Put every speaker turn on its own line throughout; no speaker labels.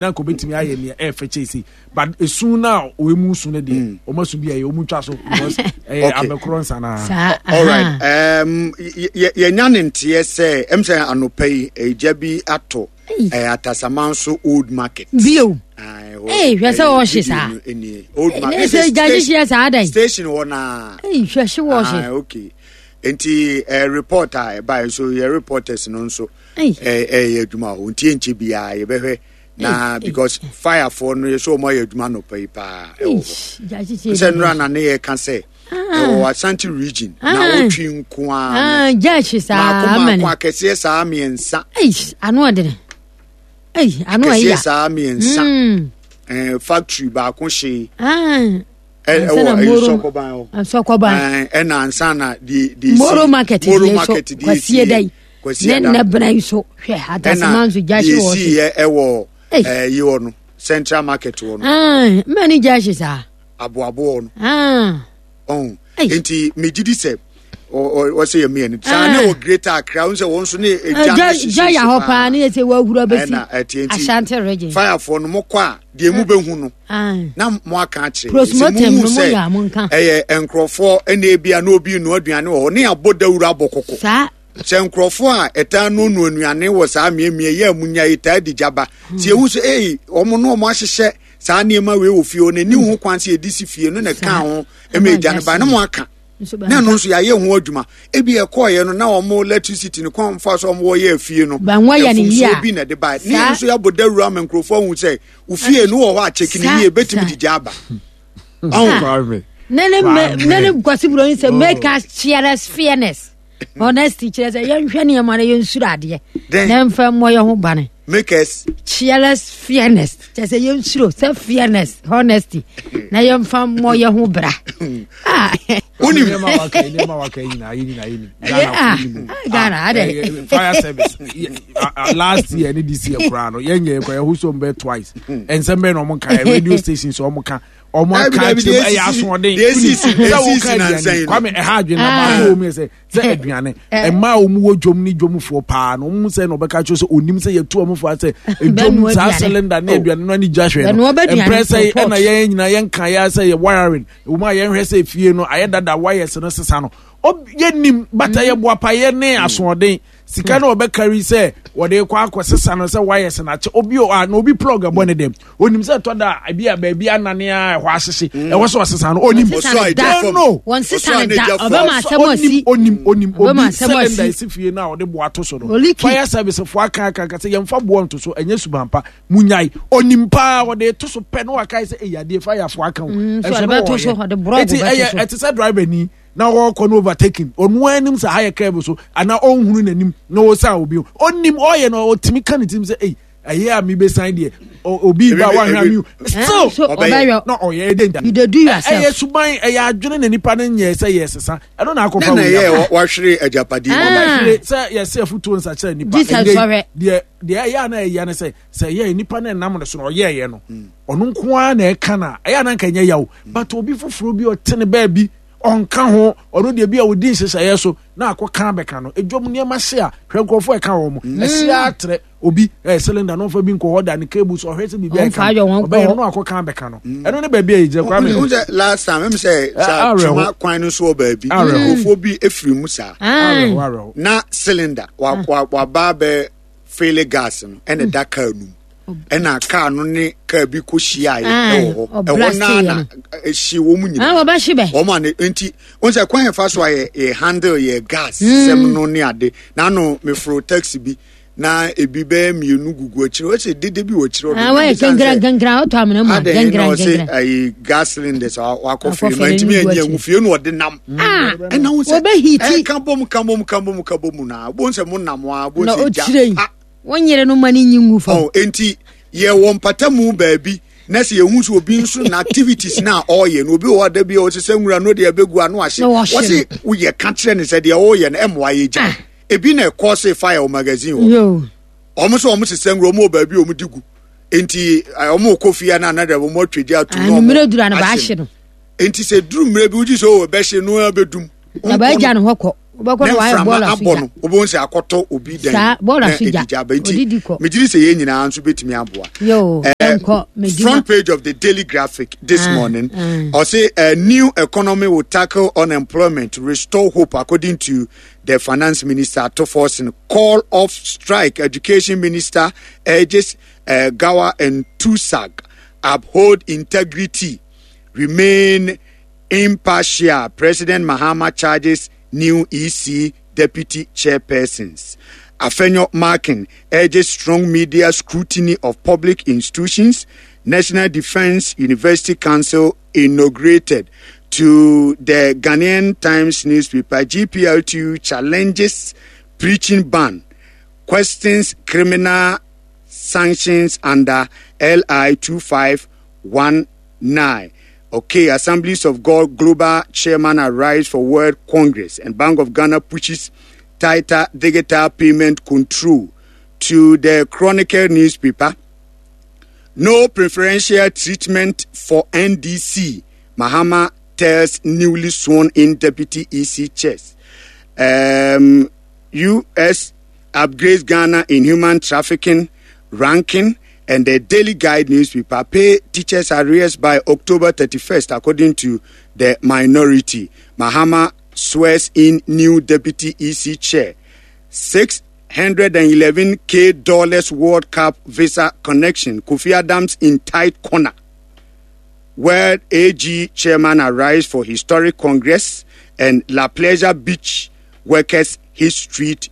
Na nka obetumi ayɛ nea ɛyɛ fɛ kyɛn sei, but esu no a wɔn mu su no deɛ, wɔn asu bi a ɛyɛ wɔn twa so because ɛyɛ abɛkorɔ nsa naa.
Saa.
Alright, yɛnya ne nteɛ sɛ ɛm sɛ anɔpa yi egya bi atɔ Atasamanso Old Market.
Bio. Ee, hwɛ sɛ ɔhye saa.
Old Market.
Ne sɛ gya hyehyeɛ saa dɛn.
Station hɔ naa.
Ee, hwɛ hye wɔhye.
Okay. Nti report a ɛbaeɛ nso yɛ reporters no nso ɛyɛ adwuma hɔ nti ɛnkyɛ biara yɛbɛhwɛ na because firefoɔ no yɛ sɛ wɔn ayɛ adwuma anɔpa yi paa ɛwɔ hɔ sɛ nnora na ne yɛ ka sɛ ɛwɔ Ashanti region na wotwi nko ara
no
mako mako akɛseɛ saa mmiɛnsa.
Ano ɔdene ano
akɛseɛ saa mmiɛnsa factory baako hyee ɛwɔ ɛyɛ sɔkɔban hɔ
sɔkɔban
ɛna ansa na de de
moro market moro market de esi yɛ
kwasi
ada ne nnabena yi so hwɛ atasema nso gya hye wɔ
so ɛna deɛ esi yɛ ɛwɔ ɛyi hɔ no central market hɔ no
mma ni gya hye saa
aboaboɔ no ɔn nti megye di sɛ ɔsɛ yɛ mmienu saa ne wɔ greater Accra n sɛ wɔn nso ne egya no hyehyɛ
gya yɛ hɔ paa ne yɛ sɛ wɔahuru abɛsi Ashanti region
firefoɔ no mokɔ a deɛ mu bɛhu no na mo aka akyerɛ sɛ mo hu sɛ ɛyɛ nkurɔfoɔ ɛna ebi a na obi nua aduane wɔ hɔ ne abɔ dawuro abɔ kɔkɔ sɛ nkurɔfoɔ a ɛtaa nonoa nnuane wɔ saa mmeammea yi a munya yi taa di gya ba sɛ ehu sɛ ei wɔn no wɔn ahyehyɛ saa nneɛma wei wɔ fie hɔ na ɛni ho kwan sɛ yɛde si fie no na ɛka ho ma egya no ba na mo aka na ɛno nso yɛayɛ ho adwuma ebi ɛkɔɔyɛ no na wɔn electricity no kwan fa so wɔn wɔyɛ fie no mfomsoɔ bi na ɛde ba ne yɛn nso yɛabɔ dawuro ama nkurɔfoɔ ahu sɛ ofie no wɔ hɔ a kyɛkini yie ebetumi de gya aba.
Ne ne ne ne Kwasi Buroni sɛ make us cheerless fairness. Honesty kyerɛ sɛ yɛnhwɛ nneɛma no yɛnsuro adeɛ na mfa mmɔ yɛn ho bane.
Make us
cheerless fairness kyerɛ sɛ yɛnsuro sɛ fairness honesty na yɛmfa mmɔ yɛn ho bra.
Wonim
nneɛma waka nyinaa yɛ nyinaa yɛ nim
Ghana adɛ
fire service last year ne this year koraa no yɛnyɛ kɔ yɛho so mbɛ twice nsɛm bɛn na ɔmo nka radio stations ɔmo ka ɔmo aka akyerɛ mu ɛyɛ asoɔden sɛ woka aduane kwame ɛha adwene na baako wɔ mu yɛ sɛ sɛ aduane mmaa a wɔn wɔ dwom ne dwomfoɔ paa no wɔn sɛ na ɔbɛka kyerɛ sɛ onim sɛ yɛtu wɔn fo asɛ dwom saa cylinder ne aduane no ani gya hwɛ no mprɛ sɛ ɛna yɛn nyinaa yɛn ka yɛ sɛ yɛ wiring wɔn a yɛn hwɛ sɛ fie no ayɛ dada wires no sesa no yɛnim bata yɛ boapayɛ ne asoɔden sika na ɔbɛkari sɛ wɔde kɔ akɔ sesa no sɛ wires na akyɛ obi a na obi plug ɛbɔ ne dɛm onim sɛ ɛtɔ da ebi a baabi anane a ɛhɔ ahyehye mm. ɛwɔ sɛ ɔsesa no onim no
wɔn sesa no da ɔbɛma asɛm asi
onim onim obi cylinder esi fie no a ɔde boa to so no fire service fo aka aka aka sɛ yɛnfa boɔ nto so ɛnyɛ suban pa munyae onim paa ɔde to so pɛ no wakae sɛ ɛyɛ adeɛ fire fo aka o
mm, ɛso no wɔyɛ
eti ɛyɛ ɛte sɛ driver ni na ɔrekɔ no overtaking ɔno anim sɛ ha yɛ curve so anaa ɔnhunu n'anim na ɔsan obi ɔnim ɔyɛ no ɔtumi ka ne tirim sɛ ei ɛyɛ a mebesan deɛ obi ba wahwɛ mi still
ɔbɛyɔ
na ɔyɛ ɛdɛ nta
you dey do yourself
ɛyɛ suban ɛyɛ adwene na nipa no nyɛ sɛ yɛ sesa ɛno na akɔfa
wei ɛyɛ wahwere agyapadeɛ
ɔbɛhwere sɛ yɛsɛ afutuo nsakyerɛ nipa
ɛnɛ
deɛ deɛ ɛyɛ a na ɛyɛ ne sɛ sɛ ɛyɛ nipa no ɛnam ne so na ɔyɛɛyɛ no ɔno nko ara na ɛka na ɛyɛ a na nka ɛnyɛ yaw but obi foforɔ bi ɔte ne baabi ɔnka ho ɔno deɛ bi a ɔdi nhyehyɛeɛ so na akɔka abɛka no edwam nneɛma hye a hwɛ nkurɔfoɔ ɛka wɔn mo mm. ɛsi atrɛ obi ɛɛ cylinder no ɔfa bi nkɔ hɔ da ne cable so ɔhwɛ sɛ biribi a ɛka ɔbɛyɛ no akɔka abɛka no mm. ɛno ne baabi a yɛgyina
kwame. n sɛ last time ɛmu sɛ saa twema kwan no so wɔ baabi nkurɔfoɔ bi efiri mu saa na cylinder waba bɛ fele gas no ɛna ɛda kaa no mu ɛna kaa no ne kaa bi kɔ hyiaeɛ ɛwɔ hɔ ɛhɔ naa na ɛhye wɔn mu nyinaa wɔn a ne nti wɔn sɛ kwan yɛn fa so a yɛ yɛ handle yɛ gas mm. sɛm no ne ade n'ano meforo taxi bi na ebi bɛyɛ mmienu gugu akyire wɔsɛ dede bi wɔ akyire
ɔdo wɔyɛ gɛngɛn gɛngɛn ɔtɔ amena mu a gɛngɛn gɛngɛn
ayi gas cylinders wakɔ fie ma ntumi anyi ehu fie na ɔde nam ɛna wɔn sɛ ɛka bom ka bom ka bom ka bom na wɔn sɛ mo nam a wɔn sɛ gya.
Wo nyere no ma no nyi ngu fam.
Oh, enti yɛwɔ mpatamu baabi na sɛ yɛhu sɛ obi nso na activities na ɔreyɛ no obi wɔ hɔ da bi a ɔsesɛ nwura no deɛ ɛbɛgu ano ahye wɔse woyɛ ka kyerɛ no sɛ deɛ ɔreyɛ no ɛmmoa yɛ gya ah. Ebi na ɛkɔ se fire wɔ magazine hɔ wɔn nso wɔn sesɛ nwura wɔn wɔ baabi a wɔn di gu nti wɔn kɔ fie na anadɛ wɔn atwa gya atum na wɔn ahye no nti sɛ duru mmerɛ bi wogye sɛ ɔwɔ bɛhye no abɛdum
na bɛagya no hɔ kɔ. Wobɛkɔ
ne
no wayɛ
mframa
bɔɔla so
abɔ
gya.
no wobɛhu sɛ akɔtɔ obi dan
Saa,
mu
bɔɔla
na
so gya.
ɛdi gya aba nti
Odidi kɔ.
megyere sɛ yɛn nyinaa nso bɛtumi aboa
Yo, yɛnkɔ Medima.
Front page of the Daily Graphic this
Ah,
morning.
ah.
I say a new economy will tackle unemployment, restore hope, according to the finance minister Ato Forson. Call off strike. Education minister urges Gawa and Tusag uphold integrity, remain impartial. President Mahama charges new EC deputy chairpersons. Afenyo Markin urges strong media scrutiny of public institutions. National Defense University Council inaugurated. To the Ghanaian Times newspaper, GPLTU challenges preaching ban, questions criminal sanctions under LI 2519. Okay, Assemblies of God Global Chairman arrives for World Congress and Bank of Ghana pushes tighter digital payment control. To the Chronicle newspaper, no preferential treatment for NDC. Mahama tells newly sworn in deputy EC chairs. U.S. upgrades Ghana in human trafficking ranking, and the Daily Guide newspaper pay teachers arrears by October 31st, according to the minority. Mahama swears in new deputy EC chair. 611K dollars World Cup visa connection. Kofi Adams in tight corner. World AG chairman arrives for historic congress and La Pleasure Beach workers hit street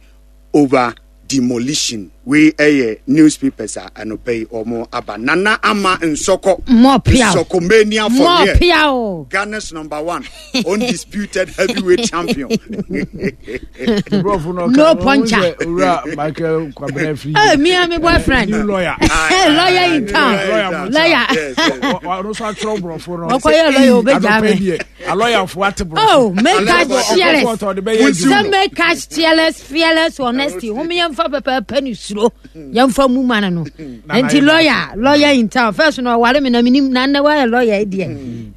over demolition. We ɛyɛ newspapers a anɔpa yi wɔn aba. Nana Ama Nsɔkɔ.
More piao.
Nsɔkɔmania for
More
real.
piao.
Ghana's number one undisputed heavyweight champion.
Brɔfo no
No
ɔka,
puncher.
ɔhu sɛ Owura Michael Kwabena Afriyie.
Hey, me and my boyfriend.
New lawyer.
Lawyer in town.
Lawyer.
Lawyer.
Yes, yes.
Ɔno nso atwerɛ borɔfo no.
Ɔkɔyɛ lawyer, obegya
Anɔpa
me.
deɛ, alɔyafoɔ ate borɔfo.
Oh, make us
Ɔkɔ
fearless.
court a ɔde bɛyɛ adwuma.
Sɛ make us fearless, fearless honesty. Hom yɛmfa pɛpɛɛpɛ ne suro. Yɛmfa mu ma no no. Nti lawyer, lawyer in town. First no ɔware me na menim na nnɛ wayɛ lawyer yi deɛ.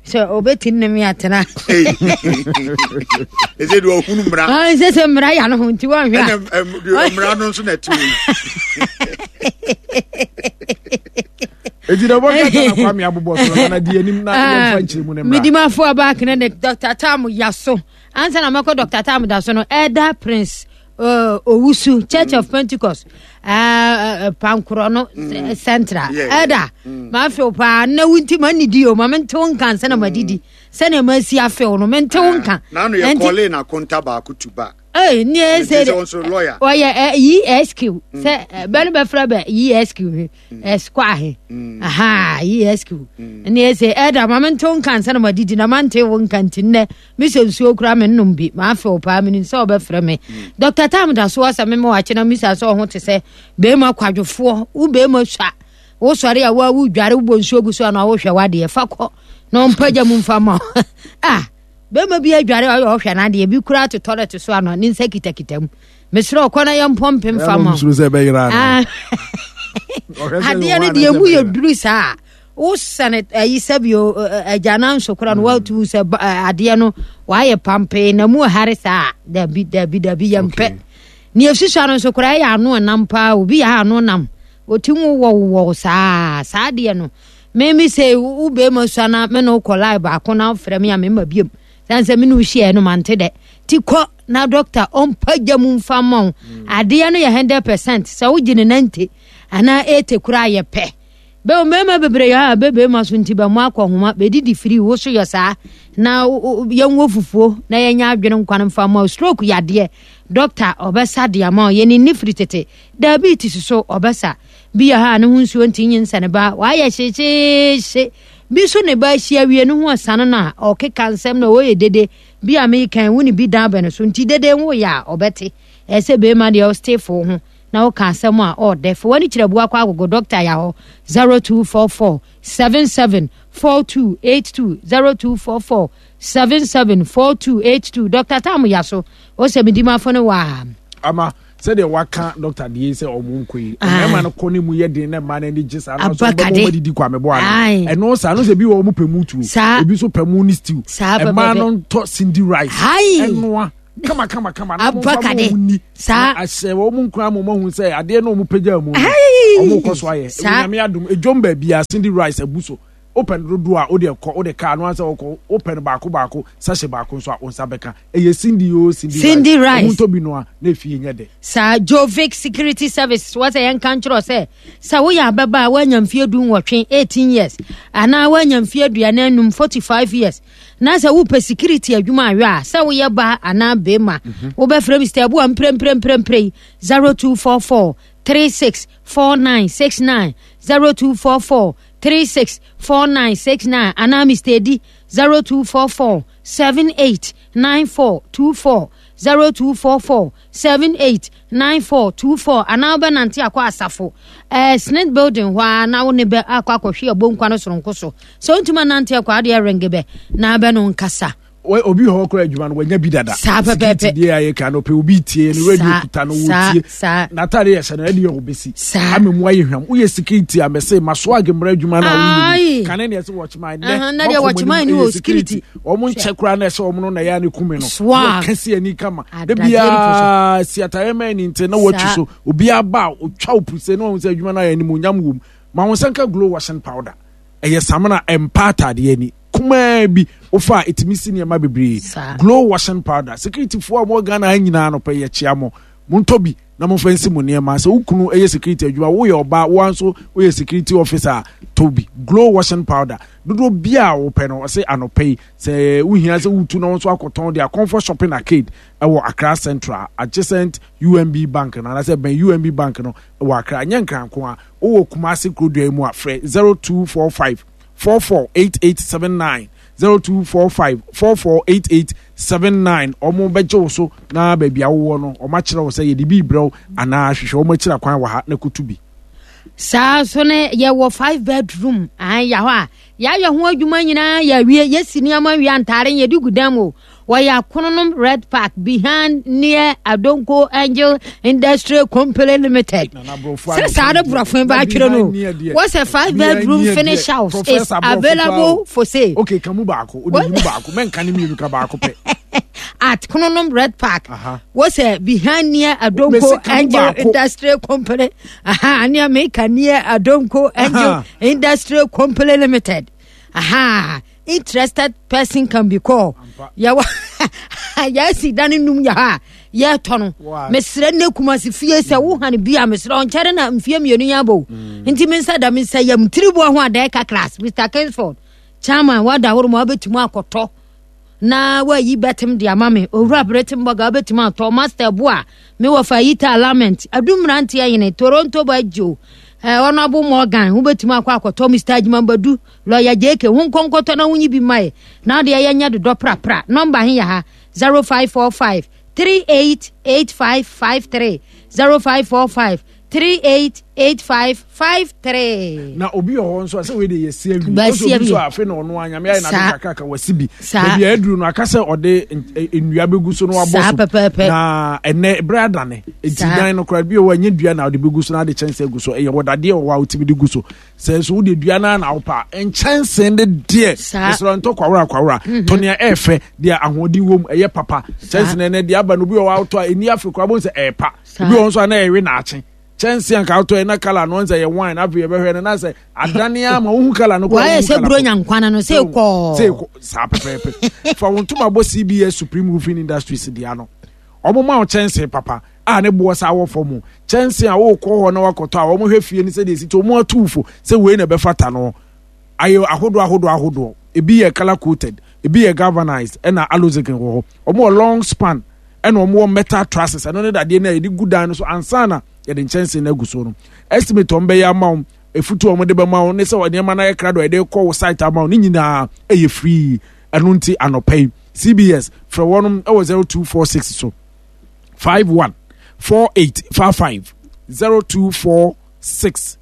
Sɛ obɛtumi ne me atena.
Ɛsɛ deɛ ɔhunu mmara.
Ah, sɛ sɛ mmara yɛ no ho nti wɔnhwɛ a.
Ɛna deɛ mmara no nso na ɛte mu.
Eti na wɔn kata na Kwame abobɔ so na na di anim na yɛmfa nkyerɛ mu ne mmara.
Medimafo Abakene ne Dr. Tam Yaso. Ansa na mɛkɔ Dr. Tam da so no, Elder Prince Owusu, Church of Pentecost, Pankorɔ no Central. Elder, mafew paa, na wo nti mannidi o, ma mente wo nka ansa na madidi. Sɛnea masi afew no, mente wo nka.
N'ano yɛ kɔle na konta baako tu ba.
Ee, ne ɛsɛ
de.
Ɔyɛ ESQ. Sɛ bɛ no bɛfrɛ bɛ ESQ he. Esquire he. Aha, ESQ. Ne ɛsɛ ɛda ma mente wo nka ansa na madidi na mante wo nka nti nnɛ mesɛ nsuo koraa mennom bi maafew paa menim sɛ wɔbɛfrɛ me. Dr. Tam da so asɛ mema wakye na misa sɛ ɔho te sɛ bɛrima kwadwofoɔ wo bɛrima sua wosɔre a woa wodware wobɔ nsuo gu so a na wohwɛ wadeɛ fa kɔ na ɔmpagya mu mfa ma ah bɛrima bi adware ɔyɛ ɔhwɛ n'adeɛ bi koraa to toilet so ano ne nsa kitakita mu mesrɛ ɔkɔ na yɛmpɔ mpem fa ma adeɛ no deɛ mu yɛ duru saa wosɛne ayi sɛbio agyanan so kora no watu sɛ adeɛ no wayɛ pampee na mu hare saa dabi dabi dabi yɛmpɛ ne ɛsusua no nso koraa ɛyɛ ano nam paa obi yɛ ano nam ɔti mu wɔwowɔw saa saa adeɛ no meme sɛ wo bɛrima sua na me ne wokɔ lie baako na wofrɛ me a mema biom sane sɛ me ne wohyiaɛ no mante dɛ ti kɔ na dɔkta ɔmpagya mu mfa ma wo adeɛ no yɛ 100% sɛ wogye ne 90 anaa 80 koraa yɛ pɛ bɛ mmarima bebree yɛ a bɛ bɛrima so nti bɛ mo akɔ homa bɛdidi firi wo so yɛ saa na yɛnwɔ fufuo na yɛnyɛ adwene nkwan mfa ma stroke yadeɛ dɔkta ɔbɛsa de ama yɛne nni firi tete diabetes so ɔbɛsa bi yɛ ha a ne ho nsuo nti nyinsɛne ne ba wayɛ hyehyeehye bi so ne ba ahyia wie ne ho ɔsane no a ɔkeka nsɛm na ɔyɛ dede bi a mekan wo ne bi dan bɛ no so nti dede ho yɛ a ɔbɛte ɛsɛ bɛrima deɛ ɔstefo ho na woka asɛm a ɔɔdɛ fa w'ani kyerɛ bua kɔ agogo dɔkta yɛ hɔ 0244 77 4282 0244 77 4282 dɔkta tam ya so ɔsɛ medimafo no waa
ama sɛdeɛ waka dɔkta deɛ sɛ ɔmo nkɔ yi mmarima no kɔ ne mu yɛ den na mmaa no ani gye saa na ɔsɛ ɔbɛma ɔmo adidi kwa meboa no ɛno saa no sɛ ebi wɔ ɔmo pɛ mu tuo ebi nso pɛ mu ne stew mmaa no ntɔ cindy rice ɛnoa. Kama kama kama. Na wɔn
Aba
mfa ma
kade.
wɔn ni.
Saa.
Na ahyɛ wɔn nkura ma wɔn ahu sɛ adeɛ na wɔn pagya mu no.
Ayi.
Wɔn kɔ so ayɛ.
Saa.
Nyame adom edwom baabi a Cindy Rice abu so. Wopɛ no dodoɔ a wode kɔ wode kaa no ansɛ wokɔ wopɛ no baako baako sachet baako nso a wo nsa bɛka. Ɛyɛ Cindy o Cindy,
Cindy Rice.
Wɔn ntɔ bi noa na efie nyɛ dɛ.
Saa Jovic Security Services wɔ sɛ yɛnka nkyerɛ sɛ sɛ woyɛ ababaa a woanya mfeɛ 18, 18 years anaa woanya mfeɛ 45, 45 years na sɛ wopɛ security adwuma ahwɛ a sɛ woyɛ baa anaa bɛrima wobɛfrɛ Mr. Abua mprɛmprɛmprɛmprɛ yi 0244 36 4969 0244 36 4969 anaa Mr. Edi 0244 78 9424 0244 78 9424 anaa wobɛnante akɔ asafo eh, Snit building hɔ a na wo ne bɛ akɔ akɔhwe abonkwa no soronko so sɛ wontumi anante akɔ adeɛ renge bɛ na bɛ no nkasa.
Obi hɔ kora adwuma no wanya bi dada.
Saa pɛpɛɛpɛ.
Security deɛ ayɛ ka no pɛ obi tie no radio kuta no wɔtie n'ataade yɛ hyɛ no ɛde yɛ ɔbɛsi ama mu ayɛ hwam woyɛ security a mɛsɛ ma so age mmara adwuma no a woyɛ kane ne ɛsɛ wɔkyeman nɛ
na deɛ wɔkyeman ne wɔ security
wɔn nkyɛ koraa na ɛsɛ wɔn no na ɛyɛ ne kume no wɔka si ani kama da biara si ataare mɛn ne nti na wɔatwi so obiara ba a otwa opuse na wɔn sɛ adwuma no ayɛ animuonyam wɔ mu ma wɔn nsa nka glow washing powder ɛyɛ samina ɛmpa ataadeɛ ani kumaa bi wofa a ɛtumi si nneɛma bebree glow washing powder security foɔ a wɔwɔ Ghana ha nyinaa no pɛ yɛkyea mo montɔ bi na momfa nsi mo nneɛma sɛ wo kunu yɛ security adwuma woyɛ ɔbaa woa nso woyɛ security officer a tɔ bi glow washing powder dodoɔ bi a wopɛ no ɔse anɔpɛ yi sɛ wohia sɛ wotu na wo nso akɔtɔn de akɔmfɔ shopping arcade ɛwɔ Accra Central adjacent UMB bank no anaasɛ bɛn UMB bank no wɔ Accra nyɛ nkranko a wowɔ Kumasi kurodua yi mu a frɛ 0245 448879 0245 448879 wɔn bɛgye wo so na baabi a wowɔ no wɔn akyerɛ wo sɛ yɛde bi brɛ wo anaa hwehwɛ wɔn akyira kwan wɔ ha na kotu bi.
Saa nso ne yɛwɔ five bedroom an yɛ hɔ a yɛayɛ ho adwuma nyinaa yɛawie yɛsi nneɛma wie antaare yɛde gu dan mu wɔyɛ akononom red park behind near adonko angel industry company limited sɛ saa ne borɔfo ba atwerɛ no wɔsɛ five bedroom finish house is available for sale.
okay kamu baako o de yi mu baako mɛnka ne mmienu ka baako pɛ.
At Kononom Red Park. Wɔsɛ behind near Adonko Angel Industry Company. Aha, near Meka near Adonko Angel Industry Company Limited. Aha, interested person can be called. Yɛwɔ yɛasi dan num yɛ ha yɛtɔ no. Mesrɛ ne kumase fie sɛ wo han bi a mesrɛ ɔnkyɛre na mfie mmienu yɛ abɔ. Nti me nsa da me nsa yam tiriboa ho adɛɛ ka class Mr. Kingsford. Chairman wada horo ma wabɛtumi akɔtɔ. na wayi bɛtem de ama me owura beretem bɔga wobɛtumi atɔ master bo a me wɔfa yita lament adu mmeranteɛ yene toronto bagyo eh, honorable morgan wobɛtumi akɔ akɔtɔ mr adwumambadu lɔya jk ho nkɔnkɔtɔ na wonyi bi mmae na wode ɛyɛ nyɛ dodɔ prapra nɔmba he yɛ ha 0545 388553 0545 388553.
Na obi wɔ hɔ nso a sɛ wei de yɛ si awie ɔsɛ obi nso a afei na ɔno a nyame ayɛ n'ade kakraka wasi bi baabi a aduru no aka sɛ ɔde nnua bɛgu so na wabɔ so na ɛnɛ berɛ adane nti dan no koraa bi wɔ ɛnyɛ dua na ɔde bɛgu so na ade kyɛnse agu so ɛyɛ wɔdadeɛ wɔ hɔ a wotumi de gu so sɛ nso wode dua no na wopɛ a nkyɛnse de deɛ mesrɛ ntɔ kwawora kwawora mhm. tɔ nea ɛɛfɛ deɛ ahoɔden wom ɛyɛ papa kyɛnse no ɛnɛ deɛ aba no obi wɔ hɔ a wotɔ a ɛni afe koraa bɛhu sɛ ɛɛpa ebi wɔ nso a na ɛwe naakye kyɛnse anka wotɔ yɛ na kala no sɛ yɛ wine afei yɛbɛhwɛ no na sɛ adane ama wohu kala no
wɔayɛ sɛ buro nya nkwana no sɛ kɔɔ
sɛ kɔ saa pɛpɛɛpɛ fa wo ntoma bɔ cbs supreme roofing industries dea no wɔn ma wo kyɛnse papa a ne boɔ saa wɔ fam kyɛnse a wokɔ hɔ na wakɔtɔ a wɔn hwɛ fie no sɛdeɛ esi te wɔn atuufo sɛ wei na ɛbɛfata no ayɛ ahodoɔ ahodoɔ ahodoɔ ebi yɛ color coated ebi yɛ galvanized ɛna alozic wɔ hɔ wɔn wɔ long span ɛna wɔn wɔ metal trusses ɛno ne dadeɛ no a yɛde gu dan no so ansa na yɛde nkyɛnsee no agu so no estimate wɔn bɛyɛ ama wɔn efutu wɔn de bɛma wɔn ne sɛ nneɛma no ayɛ krado a yɛde kɔ wɔ site ama wɔn ne nyinaa ɛyɛ free ɛno nti anɔpa yi cbs frɛ wɔn ɛwɔ 0246 so 51 48 55 0246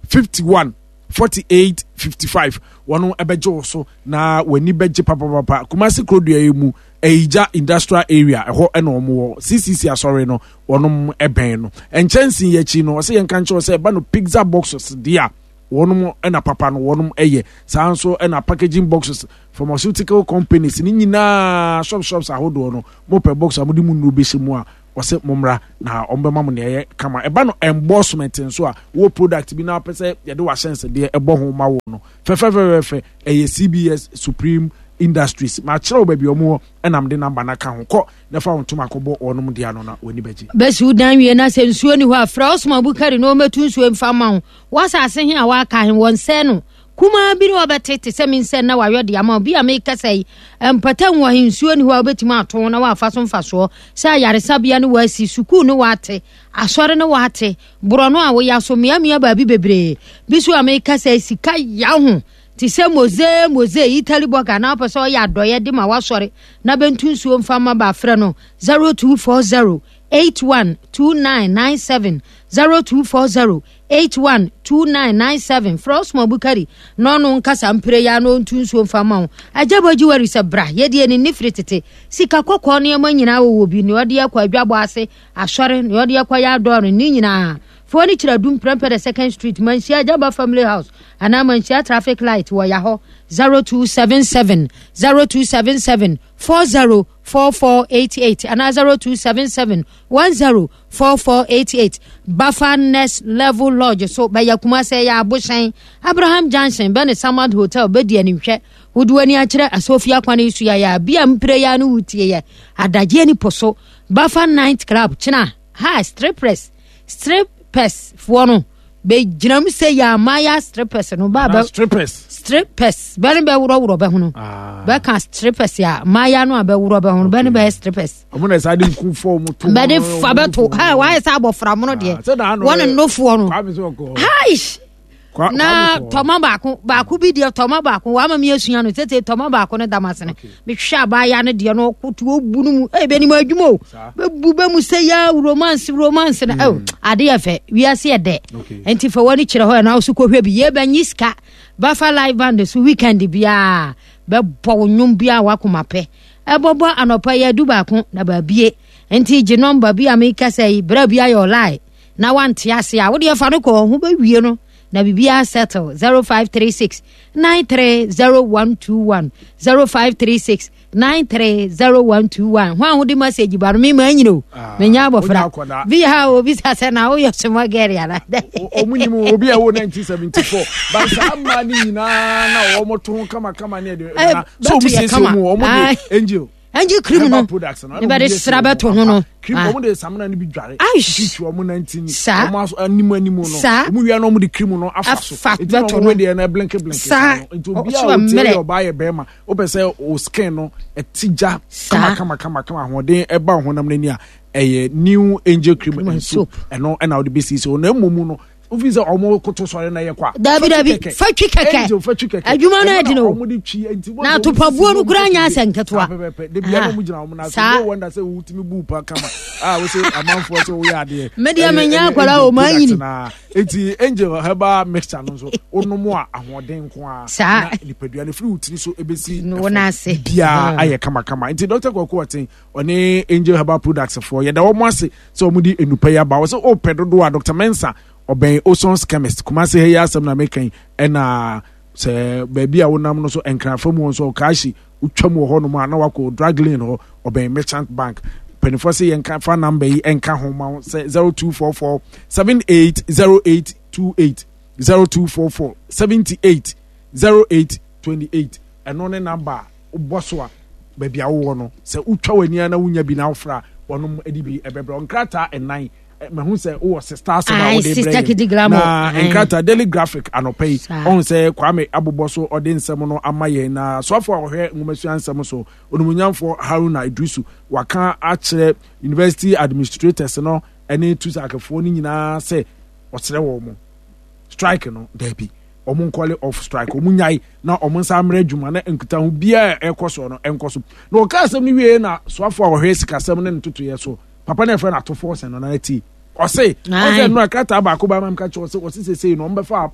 51 48 55 wɔn ɛbɛgye wo so na w'ani bɛgye papapapa kumasi kurodua yi mu Ayigya industrial area ɛhɔ ɛna wɔn wɔ CCC asɔre no wɔn ɛbɛn no nkyɛnse yi akyi no ɔsɛ yɛn ka nkyɛn sɛ ɛba no pizza boxes deɛ a. Wɔnom na papa no wɔnom yɛ. Saa nso na packaging boxes, pharmaceutical companies ne nyinaa shop shops ahodoɔ no, mopɛ box a mode mu nnuro bɛhyɛ mu a, wɔse mommra na wɔbɛma mo nea ɛyɛ kama. Ɛba no embossment nso a, wowɔ product bi na wopɛ sɛ yɛde w'ahyɛnsedeɛ ɛbɔ ho ma wo no, fɛfɛfɛfɛfɛ, ɛyɛ CBS Supreme Industries. Makyerɛ wo baabi a wɔn wɔ ɛna mede number no aka ho. Kɔ na fa wo ntoma kɔbɔ wɔnom dea no na w'ani bɛgye.
Bɛsi wo dan wie na sɛ nsuo ni hɔ a, frɛ Osman Bukari na ɔmmɛtu nsuo mfa mma wo. W'asase he a woaka he, wɔnsɛe no. Kumaa bi ne wɔbɛte te sɛ me nsɛn na wayɔ de ama wo. Bi a meekasa yi, mpata nwa he, nsuo ni hɔ a wobɛtumi ato na woafa so mfasoɔ sɛ ayaresabea ne woasi, sukuu ne woate, asɔre ne woate, borɔno a woya so, mmeammea baabi bebree. Bi so a meekasa yi, sika ya ho te sɛ Mose Mose Italy bɔga na wopɛ sɛ ɔyɛ adɔeɛ de ma w'asɔre na bɛntu nsuo mfa mma ba frɛ no 0240 81 2997 0240 812997 Frɛ Osman Bukari na ɔno nkasa mpire ya na ɔntu nsuo mfa ma wo. Agya Bɔ Jewelry sɛ bra, yɛdeɛ ne nni firi tete. Sika kɔkɔɔ nneɛma nyinaa wɔwɔ bi, nea ɔde akɔ adwabɔ ase, asɔre, nea ɔde akɔ yɛ adɔɔre, ne nyinaa. Fa w'ani kyerɛ Adum Prempeh the Second Street, Manhyia Agyaba Family House anaa Manhyia Traffic Light wɔ Yahɔ 0277 0277 404488 anaa 0277 10 4488 Bafa Next Level Lodge so bɛyɛ Kumase ɛyɛ Abohyɛn Abraham Junction bɛne Samad Hotel bɛdi animhwɛ wode w'ani akyerɛ Asofia kwan yi so yɛyɛ a bia mpire yɛ no wotie yɛ adagyeɛ ni po so Bafa Night Club kyena ha strippers strippers foɔ no bɛgyina mu sɛ yɛ amaya strippers no ba bɛ
strippers
strippers bɛne bɛworɔworɔ bɛhono ah. bɛka strippers a maya no a bɛworɔ bɛhono bɛne bɛyɛ strippers
ɔmo na ɛsa de nku fɔ ɔmo to
bɛde fa bɛto ha wayɛ sɛ abɔfra mono deɛ ah, wɔne nnofoɔ no haish na tɔma baako baako bi deɛ tɔma baako wama mi asua no tete tɔma baako no dam ase no mehwɛ abaayewa no deɛ no ɔkoto obu no mu ɛyɛ bɛnim adwuma o bɛbu bɛ mu sɛ ya romance romance no ɛo ade yɛ fɛ wiase yɛ dɛ nti fa w'ani kyerɛ hɔ ɛna wo so kɔhwɛ bi yɛ bɛnyi sika bafa live band so weekend biara bɛbɔ wo nnwom biara wakoma pɛ ɛbɔbɔ anɔpa yi adu baako na baabie nti gye nɔmba bi a mekasa yi berɛ bi ayɛ ɔlae na wante ase a wodeɛ fa no kɔ ho bɛwie no na biribiara settle 0536 930121 0536 930121 ho a wode message ba no mema anyini o ah, menya abɔfra bi ha obisa sɛ na woyɛ soma gɛre ana
ɔmu nim obi a ɛwɔ 1974 ba saa mmaa no nyinaa na wɔmɔto ho kamakama ne ɛde eh, so ɔmu siesie mu ɔmu de angel
angel cream no ne bɛde sra bɛto ho no
cream ah. ɔmo de samina no bi dware twitwi ɔmo nantin saa ɔmo aso anim anim no saa ɔmo wia na ɔmo de cream no afa so
afa bɛto
no deɛ no blinke blinke
saa
nti obi a ɔte yɛ ɔbaa yɛ bɛrima wopɛ sɛ o skin no ɛte gya kama kama kama kama ahoɔden ɛba ɔhonam n'ani a ɛyɛ new angel cream and soap ɛno ɛna ɔde bɛsiesie ɔno ɛmɔ mu no wofi sɛ ɔmo koto sɔre na ɛyɛ kwa.
Dabi dabi fatwi kɛkɛ
angel fatwi kɛkɛ
adwuma no adi no
ɔmo de twi nti
na atopabuo no kura nya asɛ nketewa.
Pɛpɛpɛ de bia na ɔmo gyina ɔmo na so no wonder sɛ wotumi bu pa kama a wosɛ amanfoɔ sɛ woyɛ adeɛ.
Me deɛ me nya akwadaa o maa nyini.
Eti angel herbal mixture no nso wonom a ahoɔden nko a.
Saa
na nipadua no firi wo tiri so ebesi
wɔn ase
biara ayɛ kamakama nti Dr. Kwaku Ɔten ɔne angel herbal products foɔ yɛda wɔn ase sɛ wɔn de nnupa yi aba wɔsɛ ɔpɛ dodoɔ a Dr. Mensah ɔbɛn Osons chemist Kumasi ha yi asɛm na meka yi ɛna sɛ baabi a wonam no so nkrafa mu nso ɔkaahyi wotwam wɔ hɔnom a na wakɔ drug lane hɔ ɔbɛn merchant bank mpanimfoɔ sɛ yɛnka fa namba yi nka ho ma wo sɛ 0244 780828 0244 78 0828 ɛno ne namba a wobɔ so a baabi a wowɔ no sɛ wotwa w'ani a na wonya bi na wofra a wɔnom de bi ɛbɛbrɛ nkrataa ɛnan mahu sɛ wowɔ sista asɛm a wode brɛ yɛn na nkrataa daily graphic anɔpa yi ɔhu sɛ kwame abobɔ so ɔde nsɛm no ama yɛn na soafo a ɔhwɛ nwomasua nsɛm so onimonyamfoɔ haruna idrisu waka akyerɛ university administrators no ne tusakefoɔ no nyinaa sɛ ɔsrɛ wɔn mo strike no daabi wɔn nkɔle off strike wɔn nyae na wɔn nsa mmerɛ adwuma na nkitaho biara ɛkɔ soɔ no ɛnkɔ so na ɔka asɛm no wie na soafo a ɔhwɛ sikasɛm ne ntotoeɛ so papa no yɛfrɛ no atofoɔ sɛn no na ti ɔse ɔsɛ nnora krataa baako ba ma mka kyerɛ ɔse ɔse sesei no ɔmbɛfa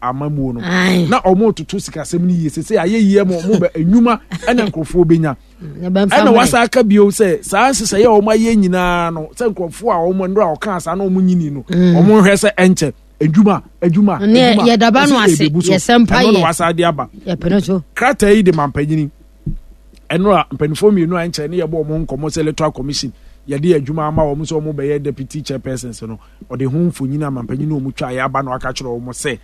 amamuo no na ɔmo toto sikasɛm no yie sesei ayɛ yie ma ɔmo bɛ nnwuma ɛna nkurɔfoɔ bɛnya ɛna wasa aka bio sɛ saa nhyehyɛeɛ a ɔmo ayɛ nyinaa no sɛ nkurɔfoɔ a ɔmo nnora ɔkaa saa na ɔmo nyini no ɔmo nhwɛ sɛ ɛnkyɛ. Adwuma, adwuma, adwuma.
Yɛdaba no ase, yɛsɛ mpa yɛ.
Ɛno na wasa de aba.
Yɛpene so.
Krataa yi de ma mpanyini. Ɛno a mpanimfoɔ mmienu a nkyɛn ne yɛbɔ wɔn nkɔmmɔ sɛ electoral commission yɛde adwuma ama wɔn sɛ wɔn bɛyɛ deputy chairpersons no ɔde ho mfonyin ama mpanyin na wɔn twa yɛ aba na waka kyerɛ wɔn sɛ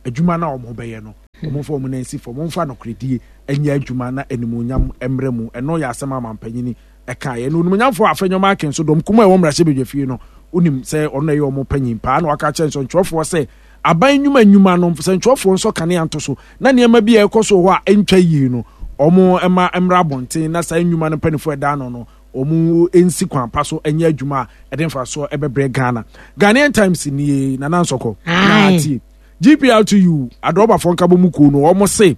adwuma no a wɔn bɛyɛ no wɔn mfa wɔn nan si fam wɔn mfa nokoredie nyɛ adwuma na animuonyam mmerɛ mu ɛno yɛ asɛm ama mpanyin ɛkaeɛ. Na onimuonyamfoɔ Afenyo Markin nso, dɔm kumaa a ɛwɔ mmarahyɛbadwafie no, wonim sɛ ɔno na ɛyɛ wɔn panyin paa, na waka akyerɛ nsɛntwerɛfoɔ sɛ aban nnwuma nnwuma no, nsɛntwerɛfoɔ nsɔ kanea nto so, na nneɛma bi a ɛrekɔ so wɔ hɔ a ɛntwa yie no, wɔn mma mmra abɔnten na saa nnwuma no mpanimfoɔ a ɛda ano no, wɔn nsi kwan pa so nyɛ adwuma a ɛde mfasoɔ ɛbɛbrɛ Ghana. Ghanaian Times nie, Nana Nsɔkɔ, na atie. GPRTU, adrɔbafoɔ nkabɔmu kuo no, wɔn se,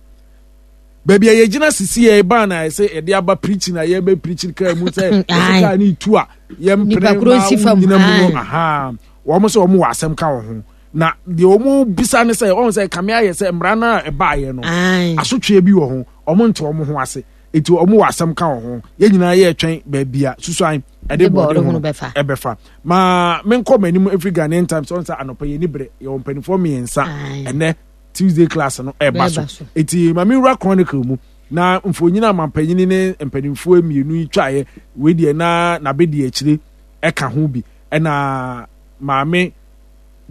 baabi a yɛgyina sisi yɛ ban a ɛsɛ yɛde aba preaching a yɛbɛ preaching kaa mu sɛ ɛsɛ kaa ne tu a yɛmpene ma wonyina mu no aha wɔn sɛ wɔn wɔ asɛm ka wɔn ho na deɛ wɔn bisa ne sɛ wɔn sɛ kame ayɛ sɛ mmara no a ɛbaayɛ no asotweɛ bi wɔ ho wɔn nte wɔn ho ase eti wɔn wɔ asɛm ka wɔn ho yɛn nyinaa yɛ twɛn baabi a susuan ɛde bɔɔde ho ɛbɛfa maa menkɔ m'anim efiri Ghanaian Times wɔn sɛ anɔpɛ yɛ ni brɛ yɛ wɔn mpanimfoɔ mmiɛnsa ɛnɛ. Tuesday class no ɛba so eti maame wura chronicle mu na mfonyin a mampanyini ne mpanimfoɔ mmienu yi twaeɛ wei deɛ na n'abedi akyire ɛka ho bi ɛna maame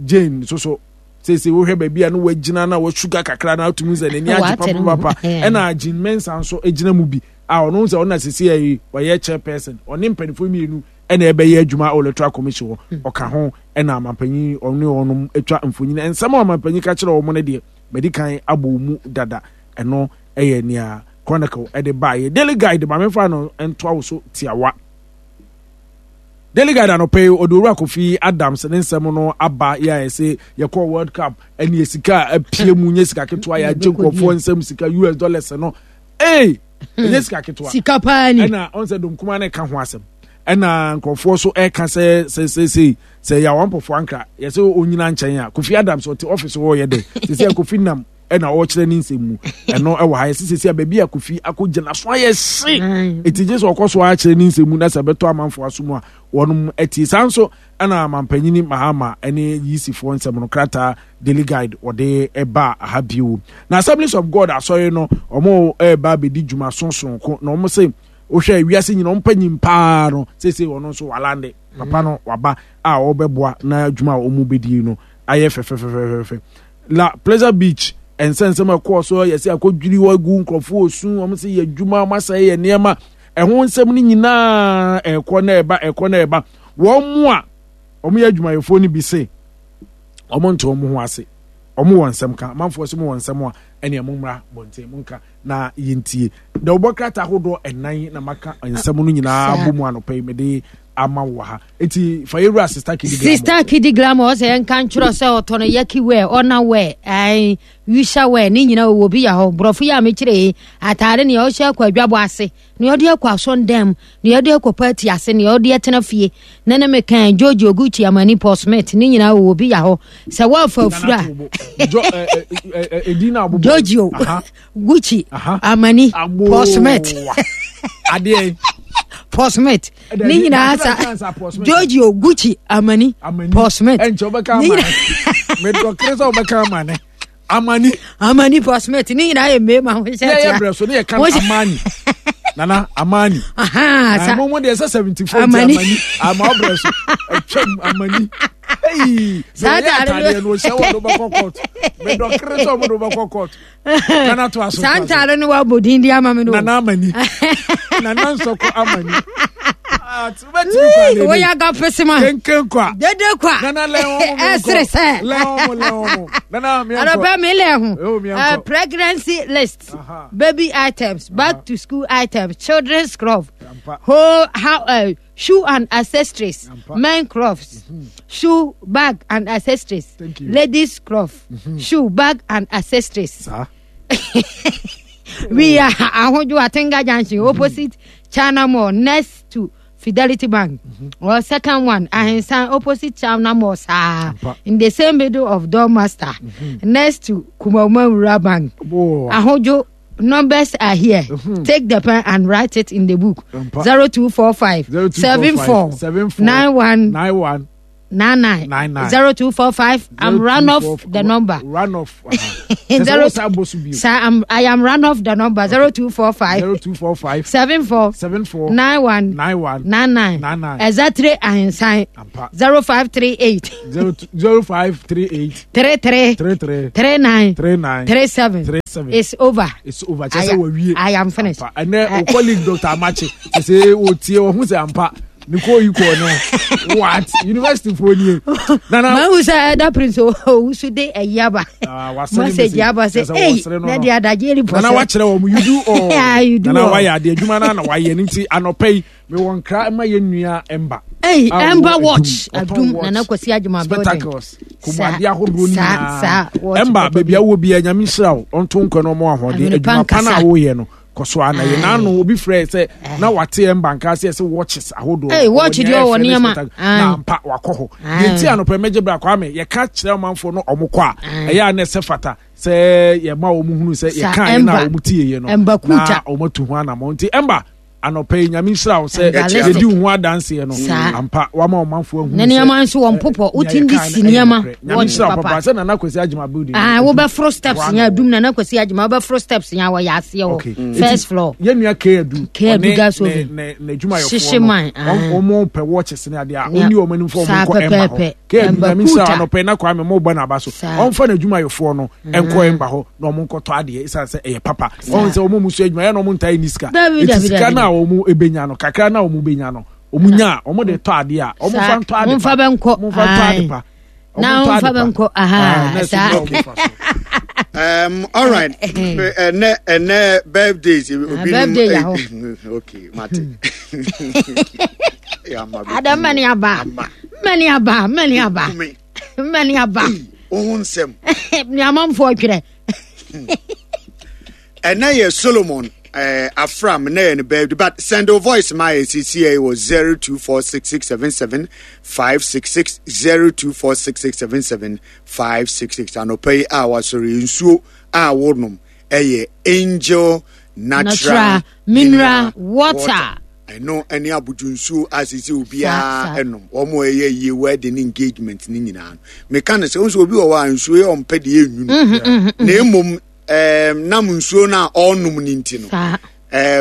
Jane nso so seesei wohwɛ baabi a no wagyina na wasuga kakra na atumi sɛ n'ani agye papapapa ɛna Jean Mensa nso gyina mu bi a ɔno sɛ ɔno na seesei ayi ɔyɛ chairperson ɔne mpanimfoɔ mmienu ɛna ɛbɛyɛ adwuma wɔ electoral commission hɔ hmm. ɔka ho ɛna amampanyin ɔne wɔnom atwa mfonyin nsɛm a amampanyin ka kyerɛ wɔn no deɛ mɛdi kan abɔ mu dada ɛno ɛyɛ nea chronicle ɛde baayɛ daily guide maame fa no ntoa wo so tiawa daily guide anɔpɛ yi ɔde owura kofi adams ne nsɛm no aba yɛ a ɛsɛ yɛkɔ world cup ɛne sika a apue mu nyɛ sika ketewa yɛagye nkurɔfoɔ nsɛm sika us dollars no ee ɛnyɛ sika ketewa
sika paa ni
ɛna ɔn sɛ domkuma no ɛka ho asɛm ɛna nkurɔfoɔ so ɛka sɛ sɛ sɛ sɛ sɛ yɛ mpɔfoɔ ankra yɛsɛ onyina nkyɛn a kofi adams ɔte ɔfis hɔ yɛ dɛ sɛ sɛ kofi nam ɛna ɔrekyerɛ ne nsɛm mu ɛno ɛwɔ ha yɛsɛ sɛ sɛ baabi a kofi akɔgyina so ayɛ hye ɛti gye sɛ ɔkɔ so akyerɛ ne nsɛm mu na sɛ ɛbɛtɔ amanfoɔ aso mu a wɔnom atie saa nso ɛna mampanyini mahama ɛne yisifoɔ nsɛm no krataa daily guide wɔde ɛba aha bio na assemblies of god asɔre no wɔn ɛreba abɛdi dwuma sonsoronko na wɔn se wohwɛ wiase nyina wɔn panyin paa no seesei wɔn nso walande papa no waba a ɔbɛboa na adwuma a wɔn bɛdi no ayɛ fɛfɛfɛfɛfɛ la pleasure beach nsɛnsɛm ɛkɔɔ so yɛsɛ akɔdwiri hɔ agu nkurɔfoɔ osu wɔn sɛ yɛ adwuma wɔn asɛe yɛ nneɛma ɛho nsɛm no nyinaa ɛkɔ na ɛba ɛkɔ na ɛba wɔn mu a wɔn yɛ adwumayɛfoɔ no bi se wɔn nte wɔn ho ase wɔn wɔ nsɛm ka amanfoɔ sɛ wɔn wɔ nsɛm a ɛnea mo mmra bɔnten mo nka na yɛntie dawubɔ krataa ahodoɔ ɛnan na maka nsɛm no nyinaa bɔ mu anɔpa yi mede ama wɔ ha eti fa yɛwura sista kidi glamour
sista kidi glamour ɔsɛ yɛn nka nkyerɛ sɛ ɔtɔ no yaki wɛ ɔna wɛ ɛn wisa wɛ ne nyinaa ɔwɔ bi yɛ hɔ borɔfo yi a mekyerɛ yi ataade nea ɔhyɛ akɔ adwabɔ ase nea ɔde akɔ asɔndan mu nea ɔde akɔ paati ase nea ɔde atena fie ne ne mekan George Oguchi Amani Paul Smith ne nyinaa ɔwɔ bi yɛ hɔ sɛ wɔafa afura George Gucci Amani Paul Smith
adeɛ
Paul Smith ne nyinaa sa Giorgio Gucci Amani Paul Smith
ɛnkyɛ wobɛka amane medɔkere sɛ wobɛka amane amani
amani Paul Smith ne nyinaa yɛ mmarima ho hyɛ
tia yɛ brɛ so ne yɛ kan amani nana amani
sa
mo mo deɛ sɛ 74 amani ama ɔbrɛ so atwam amani
saa
atadeɛ no ɔhyɛ wɔ no bɛkɔ court medɔkere sɛ ɔmo de wobɛkɔ court nana to aso
saa ntaade no wabɔ din di ama me no
nana amani nana nsɔkɔ amani
woyɛ aga pesema
kenken kwa
dede kwa
nana lɛn wɔn
mo ɛsere sɛ
lɛn wɔn mo lɛn wɔn mo nana miɛnkɔ
anɔpɛ mi lɛn ho pregnancy list baby items back to school items children's scrub whole how uh, shoe and accessories men crofts mm-hmm. shoe bag and accessories ladies croft mm -hmm. shoe bag and accessories. we are Ahojo Atenga Junction mm -hmm. opposite China Mall next to Fidelity Bank. Mm -hmm. Or second one, Ahensan opposite China Mall, sir, in the same middle of Dormaster, mm -hmm. next to Kumauma Rural Bank. Oh. Ahojo numbers are here. Mm-hmm. Take the pen and write it in the book. 0245 74 91 91. 99
99.
0245 I'm run off the number.
Run off.
Zero-
Zero.
Sir, I am run off the number 0245
0245
74
74
91
91
99
99.
Exactly Ahinsan
Ampa.
0538
0538
33
33
39
39
37
37.
It's over.
It's over.
I,
Kyerɛ sɛ wawie.
I am finished.
Ampa. Ɛnɛ o colleague Dr. Amache sɛ otie ɔho sɛ ampa ne kɔ yi kɔɔ no what university foɔ nie. Nana
Mahu sɛ Elder Prince Owusu de ayi aba.
Ah, wasɛne
Message
message.
aba sɛ
Kyerɛ sɛ
ei
wɔsere no
na
no.
de adagye repɔ
Nana
sɛ.
wakyerɛ wɔn you do all.
Yeah, you do
Nana
all.
wayɛ adeɛ adwuma no na wayɛ no nti anɔpa yi mewɔ nkra ma yɛ nua Emba.
Ei,
A ɔwɔ
Ember
Adum.
Watch
Ɔtɔn
Adum
watch.
Nana Kwasi Agyema building.
Spectacles.
Saa,
Kɔmmuadeɛ ahodoɔ no
saa, saa,
nyinaa.
watch
Emba
papa
baabi
bi.
a wowɔ biara Nyame nhyira wo ɔnto nkwa na ɔma wo ahoɔden.
Ahwene pa
Adwuma pa no a
nkasa.
woyɛ no kɔ so ara na yɛ.
Aye.
N'ano obi frɛ sɛ na wate Emba nka sɛ ɛsɛ watches ahodoɔ.
Ei, watch
Ɔwɔ
deɛ
nea
ɔwɔ
ɛfɛ ne
nneɛma.
spectacle.
Aye.
Na ampa wakɔ hɔ.
Aye.
Deɛ nti anɔpa yi mɛgye bra Kwame yɛka kyerɛ ɔmanfoɔ no ɔmo kɔ a
Aye.
ɛyɛ a na ɛsɛ fata sɛ yɛma wɔn hunu sɛ
Sa
yɛka yɛ na
Emba.
wɔn tie yɛ no
Emba
na
Kuta.
wɔn atu ho anammɔn nti Emba anɔpa yi Nyame nhyira wo sɛ
Emba
yɛdi wo ho adanseɛ no
Saa.
ampa wama ɔmanfoɔ ahunu
Ne
sɛ,
nneɛma nso wɔn popɔ.
nea
Wotim de
yɛkae
si
no ɛyɛ
nneɛma.
nokorɛ. Nyame
Watch
nhyira wo
papa.
papa sɛ Nana Kwasi Agyema building
Ah,
no,
wobɛforo steps
Hɔ
nya
ano.
adum Nana Kwasi Agyema wobɛforo steps nya wɔyɛ aseɛ hɔ.
Okay.
First
Eti,
floor.
yɛn nua K Adu
K Adu
ɔne
gas
ne
oven.
ne n'adwumayɛfoɔ
Hyehye
no
man, ah.
wɔn pɛ watches ne adeɛ a
Nea-
ɔnni wɔn anim fɔ wɔn
Saa
nkɔ Emba hɔ
pɛpɛɛpɛ.
K Adu
Emba
Nyame nhyira
Kuta.
anɔpa yi na Kwame mo bɔ n'aba so
Saa.
ɔmfa n'adwumayɛfoɔ no nkɔ Emba hɔ na wɔn nkɔtɔ adeɛ esan sɛ ɛyɛ papa wɔn sɛ wɔn mu so adwuma yɛ na wɔn ntaa ni sika
Dabi,
eti
dabi,
sika
dabi.
no a wɔn ebenya no kakra no a wɔn benya no wɔn nya a wɔn de tɔ adeɛ a wɔn fa ntɔ ade pa
Momfa bɛnkɔ.
wɔn fa ntɔ ade
Aye.
pa
Na
Wɔn ntɔ
momfa
ade pa.
bɛnkɔ. Aha,
Ah, na ɛso
saa.
na wɔn fa so.
All right. Ɛnɛ ɛnɛ birthdays. Obi
birthday yɛ hɔ.
Okay, mate.
Ada mmani aba. Mmani aba, mmani aba. Mmani aba.
Ohun nsɛm.
Ni amanfoɔ twerɛ.
Ɛnɛ yɛ Solomon Afram na yɛ ne birthday, but send your voice ma yɛ sisi yɛ wɔ 0246677566 0246677566 anɔpa yi a wasɔre nsuo a wonom ɛyɛ Angel Natural,
Natural Mineral Water.
Ɛno ɛne abodwo nsuo a sisi obiara ɛnom wɔn a ɛyɛ yie wedding engagement ne nyinaa no meka no sɛ nso obi wɔ hɔ a nsuo yɛ ɔmpɛ deɛ ɛnwunu na mmom nam nsuo no a ɔrenom no nti no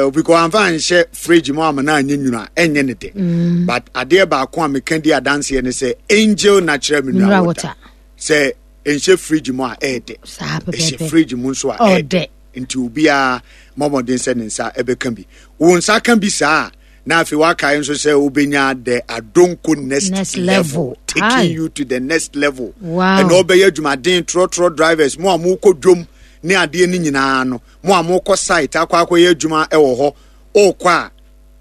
obi kɔ amfa anhyɛ fridge mu ama no anyɛ nwunu a ɛnyɛ ne dɛ but adeɛ baako a meka di adanseɛ ne sɛ Angel Natural Mineral Water sɛ ɛnhyɛ fridge mu a ɛyɛ dɛ ɛhyɛ fridge mu nso a ɛyɛ dɛ nti obiara mmɔmmɔden sɛ ne nsa ɛbɛka bi wo nsa ka bi saa a na afei wakae nso sɛ wobɛnya the Adonko next, next level, level taking Hi. you to the next level.
Wow.
Ɛna ɔbɛyɛ adwumaden trɔtrɔ drivers mo a mokɔ dwom ne adeɛ no nyinaa no mo a mokɔ site akɔ akɔyɛ adwuma ɛwɔ hɔ ɔkɔ a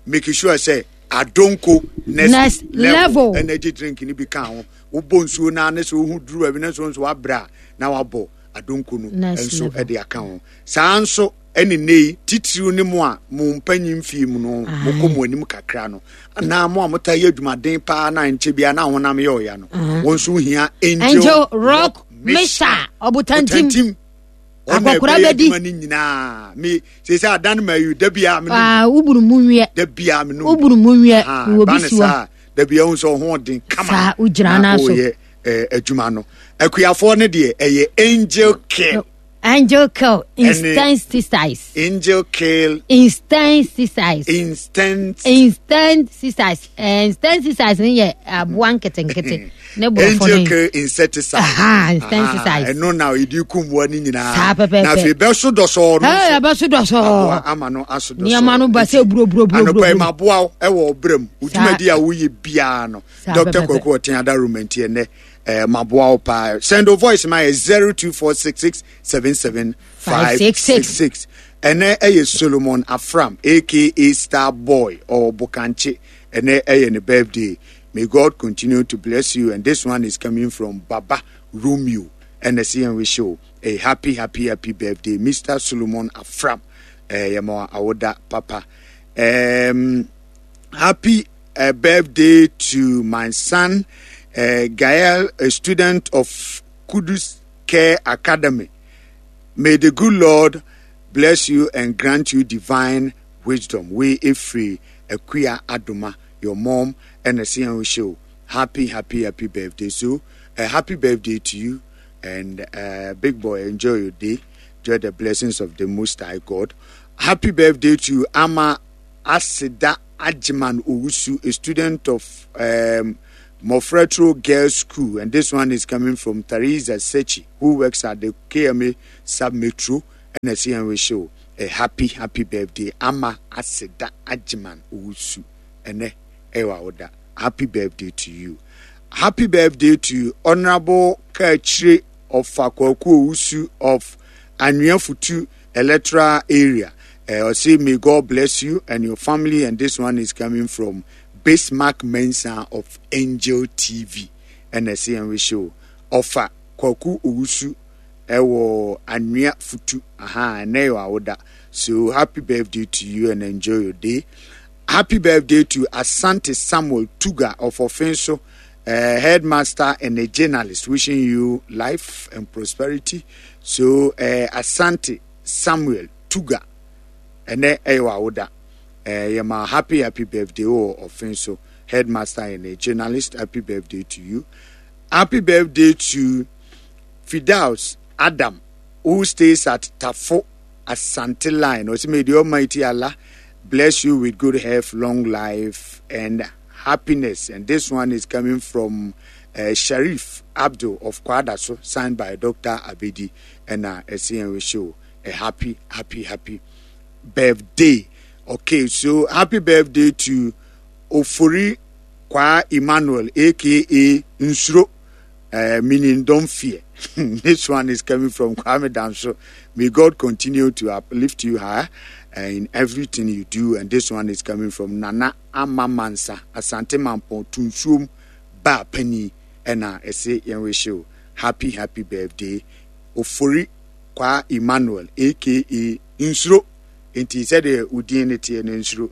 make sure sɛ Adonko next, next level, level energy drink ni bi ka ho wobɔ nsuo no ne sɛ wohu duru baabi ne nso nso wabrɛ a na wabɔ Adonko no nso ɛde aka ho saa nso Ɛne nnɛ yi, titiriw ne mo a mo mpanyin mfe mu no, mokɔ mo anim kakra no, anaa mo a motaa yɛ adwumaden paa na nkyɛ biara na honam yɛ ɔya no, wɔn nso hia Angel,
Angel Rock Mixture, ɔbotantim.
Ɔna
Akɔkora
ɛbɛyɛ
bɛdi.
adwuma no nyinaa. Me sɛ sɛ adan ma yi da biara me nom.
Ah, woburu mu nwiɛ.
Da biara me nom.
Woburu mu nwiɛ.
Ah,
Wɔ
ba
bi
ne
si hɔ.
saa da biara hu sɛ ɔho ɔden kama.
Saa, wogyina
na
no so.
woyɛ adwuma no. Akuafoɔ no deɛ ɛyɛ Angel Care.
Angel kill insecticides.
Angel kill.
Insecticides.
Instant.
Insecticides. Insecticides ni yɛ aboa nketenkete. Ne borɔfo
Angel kill insecticide.
Aha insecticides.
Ɛno na edi kum mmoa ni nyinaa.
Saa pɛpɛɛpɛ.
Na afei bɛso dɔsɔɔ no.
Ɛɛ bɛso dɔsɔɔ.
Aboa ama no aso dɔsɔɔ.
Nneɛma no ba sɛ buroburoburoburo.
Anɔpa yi ma aboa ɛwɔ ɔbrɛ mu. Odwumadi a woyɛ biara no. Dr. Kwaku Ɔten Adaroma nti ɛnɛ. Eh, maboa wo paa. Send wo voice ma yɛ 0246677566. Ɛnɛ ɛyɛ Solomon Afram aka Star Boy or Bokankye. Ɛnɛ ɛyɛ ne birthday. May God continue to bless you and this one is coming from Baba Romeo. Ɛnɛ sɛ yɛn wish you a happy happy happy birthday Mr. Solomon Afram. Eh, yɛ ma awoda papa. Happy birthday to my son Gael, a student of Kudus Care Academy. May the good Lord bless you and grant you divine wisdom. We free Akuya Adoma, your mom, and a show. Happy happy happy birthday. So uh, happy birthday to you and uh, big boy enjoy your day. Enjoy the blessings of the Most High God. Happy birthday to Ama Asida Ajiman Owusu, a student of um, Mofretro Girls School. And this one is coming from Theresa Sechi, who works at the KMA Sub Metro and a show. A happy, happy birthday. Ama Asida Ajiman Owusu. Ene ewa oda. Happy birthday to you. Happy birthday to Honorable Kachire of Fakwaku Owusu of Anwiafutu Electoral Area. Uh, I say, may God bless you and your family. And this one is coming from Bismarck Mensah of Angel TV. And I say, and we show Ofa Kwaku Owusu ɛwɔ Anwea Futu. Aha, ɛnɛ yɛ awoda. So happy birthday to you and enjoy your day. Happy birthday to Asante Samuel Tuga of Offinso, uh, headmaster and a journalist, wishing you life and prosperity. So, uh, Asante Samuel Tuga, ɛnɛ ɛyɛ w'awoda. Uh, yɛma happy happy birthday wɔ Offinso, headmaster and a journalist. Happy birthday to you. Happy birthday to Fidaus Adam, who stays at Tafo Asante Line. Ɔsɛ may the Almighty Allah bless you with good health, long life, and happiness. And this one is coming from uh, Sharif Abdul of Kwadaso, signed by Dr. Abedi and uh, SCN show. A happy, happy, happy birthday. Okay, so happy birthday to Ofori Kwa Emmanuel, aka Nsuro, meaning don't fear. This one is coming from Kwame Danso. May God continue to uplift you higher in everything you do. And this one is coming from Nana Ama Mansa, Asante Mampong, Tunsuom, Ba Penny, and I say Yenwisho. Happy, happy birthday. Ofori Kwa Emmanuel, aka Nsuro. Nti sɛdeɛ wo din no teɛ no nsuro.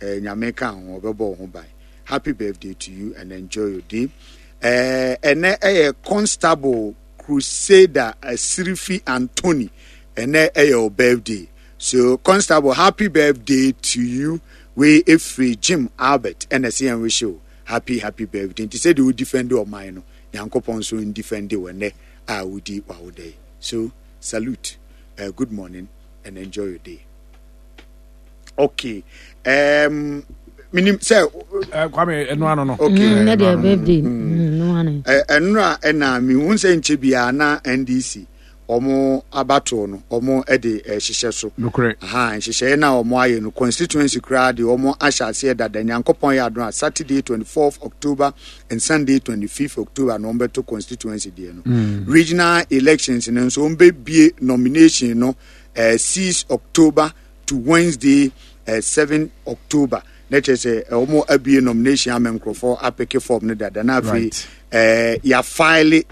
Eh, Nyame ka ho, ɔbɛbɔ wo ho ban. Happy birthday to you and enjoy your day. Eh, ɛnɛ ɛyɛ Constable Crusader Asirifi Anthony. Ɛnɛ ɛyɛ wo birthday. So Constable, happy birthday to you. Wei efiri Jim Albert ɛna ɛsɛ yɛn wish you happy happy birthday. Nti sɛdeɛ wo defend ɔman no, Nyankopɔn nso ndefend wo ɛnɛ a wodi w'awoda yi. So salute, uh, good morning and enjoy your day. Okay. Um, minim sɛ.
Eh, Kwame ɛnu ano no.
Okay.
Mm, ne deɛ birthday. Mm, mm, ano.
Ɛnura ɛna mi hun sɛ nkyɛ biara na NDC wɔn abatoɔ no wɔn de ɛhyehyɛ so.
Nokorɛ.
Aha nhyehyɛeɛ na wɔn ayɛ no constituency koraa de wɔn ahyɛ aseɛ dada Nyankopɔn yɛ adom a Saturday 24th October and Sunday 25th October na wɔn bɛto constituency deɛ no. Mm. Regional elections no nso wɔn bɛbie nomination no eh, 6 October to Wednesday eh, 7 October na kyerɛ sɛ eh, wɔn abie nomination ama nkurɔfoɔ apeke form no dada na afei
right.
eh, yɛafaele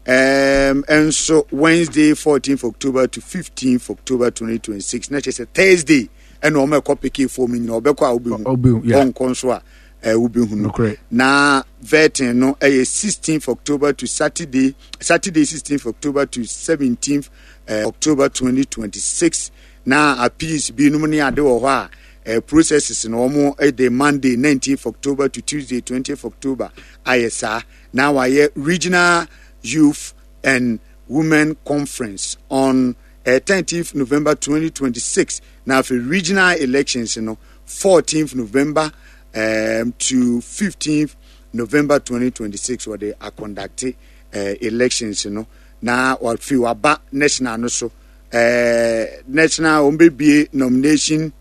um, nso Wednesday 14th October to 15th October 2026 na kyerɛ sɛ Thursday ɛna wɔn ɛkɔ peke form no nyinaa ɔbɛkɔ a wobɛhu ɔnkɔ nso a eh, wobɛhunu na vetting no ɛyɛ 16th October to Saturday Saturday 16th October to 17th eh, October 2026 na appeals binom ne ade wɔ hɔ a eh, processes no wɔn eh, de Monday 19th October to Tuesday 20th October ayɛ saa na wayɛ regional youth and women conference on eh, 13th November 2026 na afei regional elections no 14th November um, to 15th November 2026 wɔde akɔndakte eh, elections no na wɔafi waba national no so eh, national wɔn bɛbie nomination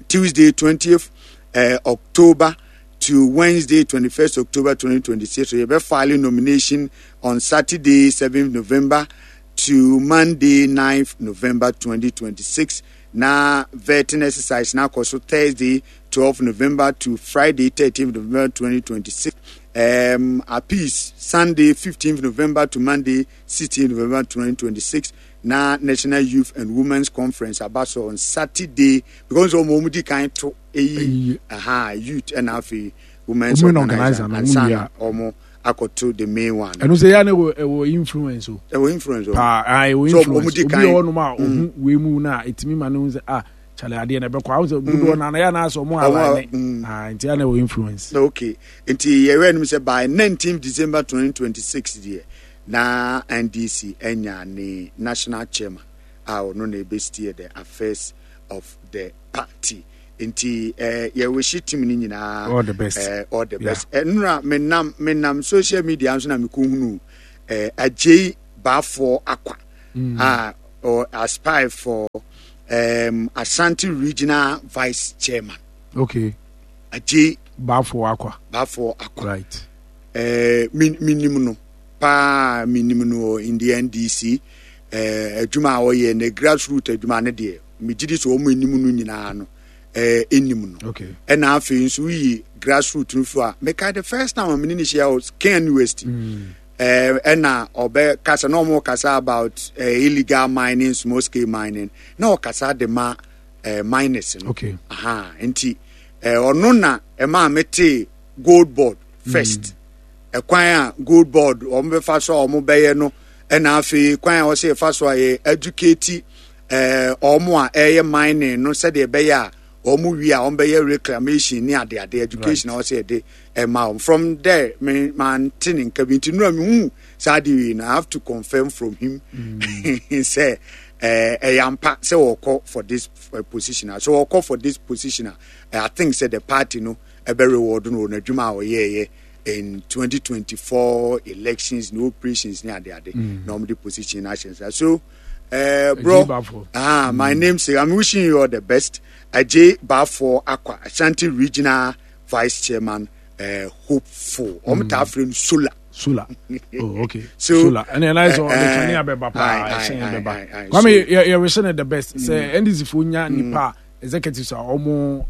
Tuesday 20th eh, October to Wednesday 21st October 2026 so yɛbɛ file nomination on Saturday 7th November to Monday 9th November 2026 na vetting exercise na akɔ so Thursday 12 November to Friday 13th November 2026 um, appeals Sunday 15th November to Monday 16th November 2026 na National Youth and Women's Conference aba so on Saturday because wɔn wɔn di kan to eyi aha youth ɛna afei women's organizer ansa na wɔn akɔto the main one.
Ɛno sɛ yɛ na ɛwɔ influence o.
Ɛwɔ influence o.
Paa ɛwɔ influence obi wɔ hɔnom a ohun wei mu na etimi ma ne ho sɛ ah. Charlie adeɛ na ɛbɛkɔ awo sɛ dodoɔ na yɛ anaasɛ ɔmo align ah nti ana wɔ influence.
Okay nti yɛhwɛ anim sɛ by 19 December 2026 deɛ na NDC anya ne national chairman a ɔno na ɛbɛ steer the affairs of the party nti eh, yɛwehye team no nyinaa
all the best
eh, all the best yeah. eh, nnora menam menam social media nso na mekɔhunu eh, agyei baafoɔ akwa mm. a or aspire for um, Ashanti regional vice chairman.
Okay.
Agyei
baafoɔ akwa.
Baafoɔ akwa.
Right.
Eh, minim no paa minim no in the NDC eh, adwuma a ɔyɛ ne grassroot adwuma no deɛ megye di sɛ wɔn anim no nyinaa no eh, anim no
okay.
ɛna afei nso woyi grassroot no fo a mekae the first time a mene ne hyia wɔ KNUST mm. eh, ɛna ɔbɛ kasa na wɔn kasa about eh, illegal mining small scale mining na ɔkasa de ma eh, miners no
okay.
aha nti eh, ɔno na ɛmaa metee gold board first mm. Ɛkwan a gold board wɔn bɛfa so a wɔn bɛyɛ no ɛna afei kwan a wɔsɛ yɛfa so a yɛ educate ɛɛ wɔn a ɛyɛ mining no sɛdeɛ ɛbɛyɛ a wɔn wie a wɔn bɛyɛ reclamation ne adeade education a wɔsɛ yɛde ɛma wɔn from there me man te ne nka bi nti nura mi hu saa de wei na I have to confirm from him sɛ ɛɛ ɛyɛ ampa sɛ wɔkɔ for this eh, position a so wɔkɔ for this position a I think sɛ the party no ɛbɛ reward no wɔ n'adwuma a ɔyɛɛyɛ in 2024 elections ne operations ne ade ade mm. na wɔn de position na ahyɛ nsa so uh, bro ah my mm. name say i'm wishing you all the best Ajay Bafo Akwa Ashanti regional vice chairman uh, hopeful wɔn mm. taa frɛ no solar.
Solar. Oh, okay. So, solar. And then I saw the kanea bɛba paa ɛhyɛn bɛba. Kwame yɛ yɛ wishing the best. Sɛ NDC fo nya nipa executives a wɔn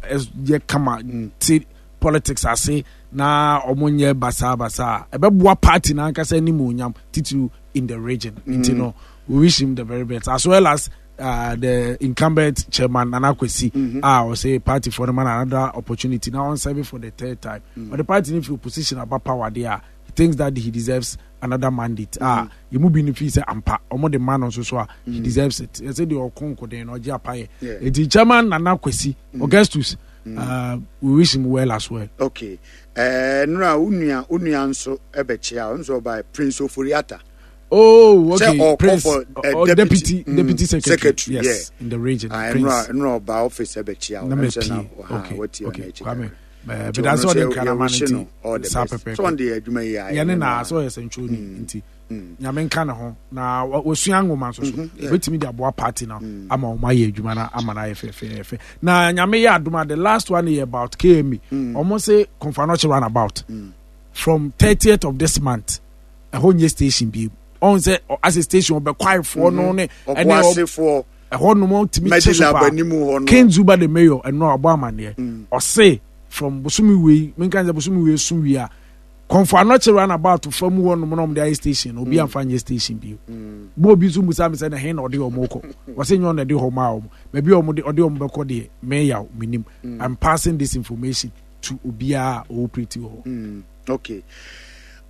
yɛ kama ti politics ase na wɔn nyɛ basaa basaa a ɛbɛboa party no ankasa animuonyam titiriw in the region nti no we wish him the very best as well as uh, the incumbent chairman Nana Kwesi mm -hmm. a ɔsɛ party for no man another opportunity now on serving for the third time mm. but the party no firi opposition aba power there he thinks that he deserves another mandate a mm. yɛn mu bi no fi sɛ ampa wɔn de ma no nso so a he mm. deserves it ɛsɛ deɛ ɔko nkoden na ɔgye apayɛ eti chairman Nana Kwesi mm. Augustus mm. uh, we wish him well as well.
okay ɛɛ eh, nura onua onua nso ɛbɛkyia nso ɔba Prince Oforiata.
Oh, okay. Sɛ Prince, for, uh, deputy, deputy, mm, deputy secretary, secretary yes, yeah. in the region.
Ah, Prince. Nura ɔba office ɛbɛkyia.
Na mɛ pie. Okay, okay. Kwame. Bɛda sɛ ɔde nkrama no nti saa pɛpɛpɛ yɛne na sɛ ɔyɛ sɛntwerɛni mm. nti mm. nyame nka ne ho na wasua nwoma nso so mm-hmm, bɛtumi de aboa party no mm. ama ɔma ayɛ adwuma no ama no ayɛ fɛfɛɛfɛ na nyame yɛ adom a the last one yɛ about kme ɔmo se kɔmfa no round about from 30th of this month ɛhɔ nyɛ station bi ɔn sɛ asɛ station ɔbɛkwaefoɔ no mm-hmm. ne
ɛne
ɛhɔ nom tumi kye so paa King Zuba the mayor ɛno a ɔbɔ amaneɛ mm. ɔse from bosomi wei menka sɛ bosomi wei so wie a kɔnfɔ anɔkye round about fa mu hɔ nom na ɔmo de ayɛ station obi mm. anfa nyɛ station bio mm. bɔ obi nso musa mi sɛ na hen na ɔde ɔmo kɔ ɔse nyɛ ɔna ɛde hɔ maa ɔmo baabi a ɔmo de ɔde ɔmo bɛkɔ deɛ meyaw menim I'm passing this information to obiara a ɔwɔ pretty hɔ.
Okay.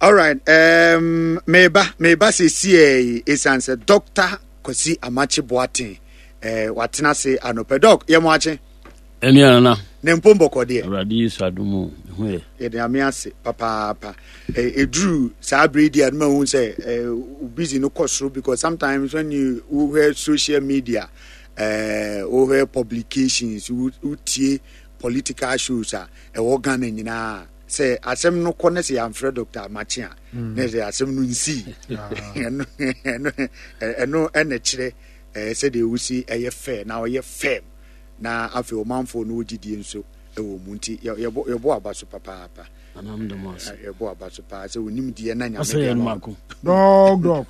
All right. Um, meba meba sɛsiɛ ɛsiane sɛ Dr. Kwasi Amakye Boateng eh, watena ase anɔpɛ. Dɔk, yɛ mo akye.
Ɛne anana.
Ne mpo mbɔkɔ deɛ.
Awurade Yesu adom o, me ho yɛ.
Yɛde Nyame ase papaapa. Ɛduru eh, saa bere di a no mahu sɛ eh, busy no kɔ soro because sometimes when you wohwɛ social media, eh, wohwɛ publications, wotie political shows a ɛwɔ Ghana nyinaa sɛ asɛm no kɔ ne sɛ yɛamfrɛ Dr. Amakye a mm. na sɛ asɛm no nsii ɛno ɛno ɛna kyerɛ ɛɛ sɛdeɛ wosi ɛyɛ fɛ na ɔyɛ fɛm na afei ɔmanfoɔ no wɔgyidie nso ɛwɔ mu nti yɛbɔ yɛbɔ aba so papaapa yɛbɔ aba so paa sɛ onim deɛ na nyame deɛ ma
dɔg dɔg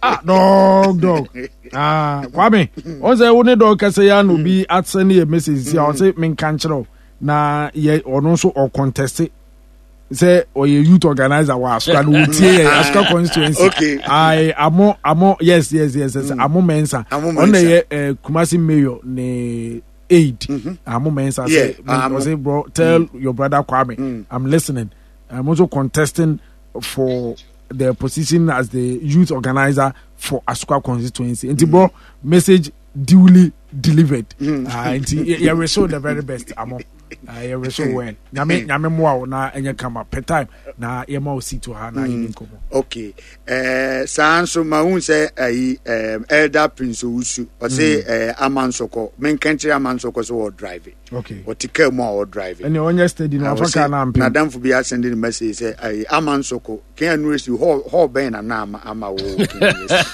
ah dɔg dɔg ah kwame ɔn sɛ wo ne dɔg kɛsɛ ya na obi asɛ ne yɛ message si a ɔsɛ menka nkyerɛ wo na yɛ ɔno nso ɔkɔntɛste sɛ ɔyɛ youth organizer wɔ asuka no wotie yɛ asuka constituency
okay.
ayi amo amo yes yes yes yes mm. amo mensa ɔno na yɛ eh, Kumasi mayor ne aid mm -hmm. amo mensa sɛ ɔsɛ bro tell mm. your brother Kwame mm. I'm listening I'm also contesting for the position as the youth organizer for Asuka constituency nti mm. bro message. duly delivered. Nti yɛ wish you the very best amo. Yɛ wish you well. Nyame nyame mmoa wo na ɛnyɛ kama per time na yɛma wo seat wɔ ha na yɛdi nkɔmmɔ.
Okay. Saa nso ma hu sɛ ayi elder Prince Owusu ɔse ama nsɔkɔ menka nkyerɛ ama nsɔkɔ sɛ wɔ drive.
Okay.
Ɔte kaa mu a ɔ drive.
Ɛne ɔnyɛ steady na ɔfa kaa na ampem.
Nadamfo bi asɛnde ne message sɛ ayi ama nsɔkɔ kɛn anu esi hɔ hɔ bɛn na na ama ama wo kɛn anu esi.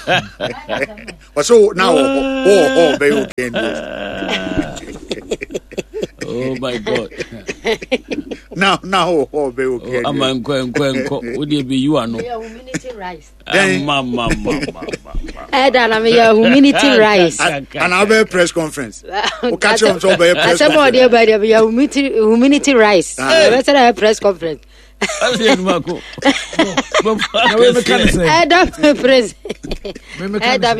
Ɔsɛ na wɔ hɔ wɔ hɔ bɛn wɔ kɛn anu esi.
Oh my God.
Na na wɔ hɔ bɛn wɔ kɛn anu.
Ama nkɔ nkɔ nkɔ o de bi yiwa no. Ama ma ma ma.
Ɛda na meyɛ humanity rice.
Ana wobɛyɛ press conference. Woka kyerɛ wɔn sɛ wobɛyɛ press conference.
Asɛm a ɔde aba deɛ meyɛ humanity rice. Ɛbɛsɛ na yɛ press conference. Ɛda press. Ɛda.